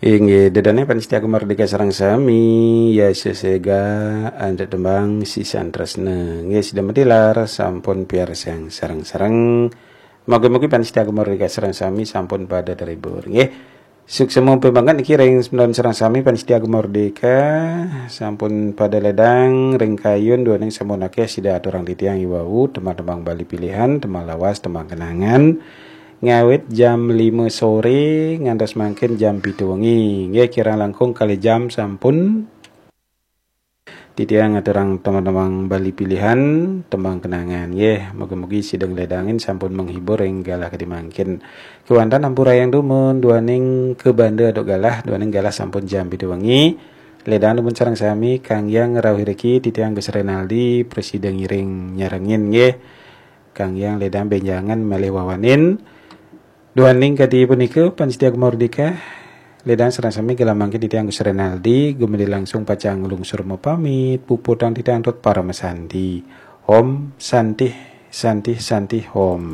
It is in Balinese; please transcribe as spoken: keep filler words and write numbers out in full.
Inggih, ida dané pamiarsa Gema Merdeka sareng sami, ya sesega antuk tembang sisan tresna. Inggih, sida matilar sampun piarsang sareng-sareng. Mugi-mugi pamiarsa Gema Merdeka sareng sami sampun pada terhibur. Inggih. Suksma banget niki ring semeton sareng sami pamiarsa Gema Merdeka sampun pada ledang ring kayun duaning sampun akéh sida aturang titiang iwau tembang-tembang Bali pilihan, tembang lawas, tembang kenangan. Ngawit jam lima sore ngantos mangkin jam pitu wengi. Nggih, kirang langkung kalih jam sampun titiang ngaturang tembang-tembang Bali pilihan, tembang kenangan. Nggih, mugi-mugi sida ngledangin sampun menghibur ring galah kadi mangkin. Kéwanten ampurayang dumun duaning kabanda antuk galah, duaning galah sampun jam pitu wengi. Ledang dumun sareng sami, Kang Yang rauh iriki, titiang Gus Renaldi, prasida ngiring nyarengin nggih. Kang Yang ledang bénjangan malih wawanin. Duaning kadi punika, pamiarsa Gema Merdeka, ledang sareng sami galah mangkin titiang Gus Renaldi, gumanti langsung pacang nglungsur mapamit, puputang titiang antuk paramasanti. Om Santih, Santih, Santih, Om.